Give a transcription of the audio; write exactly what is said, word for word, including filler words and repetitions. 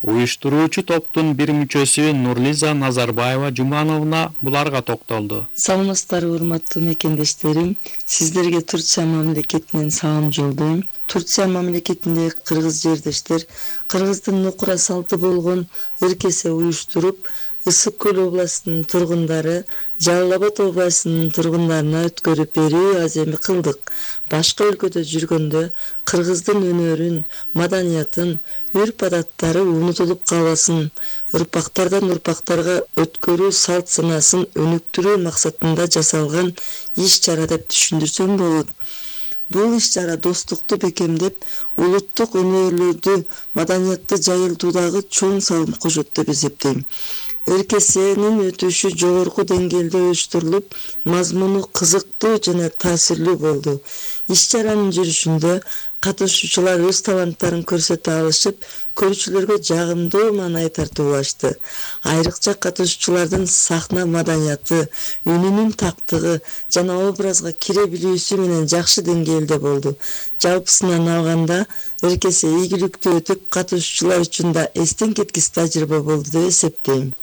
Уюштуруучу топтун бир мүчөсү Нурлиза Назарбаева Жумановна буларга токтолду. Саламатсыздарбы, урматтуу мекендештерим. Сиздерге Турция мамлекетинен салам жолдойм. Турция мамлекетиндеги кыргыз жердештер кыргыздын нукура салты болгон ыркесе уюштуруп, Ысык Көл областынын тургундары Жалал Абад областынын тургундарына өткөрүп берүү аземи кылдык. Башка өлкөдө жүргөндө кыргыздын өнөрүн, маданиятын, үрп-адаттары унутулуп калбасын, ырпактардан урпактарга өткөрүү салт санаасын өнүктүрүү максатында жасалган иш-чара деп түшүндүрсөм болот. Бул иш-чара достукту бекемдеп, улуттук өнөрлөрдү, маданиятты жайылтуудагы чоң салым кошот деп эсептейм. РКСнин өтүшү жогорку деңгээлде уюштурулуп, мазмуну кызыктуу жана таасирлүү болду. Иш-чаранын жүрүшүндө катышуучулар өз таланттарын көрсөтө алышып, көрүүчүлөргө жагымдуу маанай тартуулашты. Айрыкча катышуучулардын сахна маданияты, үнүнүн тактыгы жана образга кире билүүсү менен жакшы деңгээлде болду. Жалпысынан алганда, РКС ийгиликтүү өтүп, катышуучулар үчүн да эстен кеткис тажрыйба болду деп эсептейм.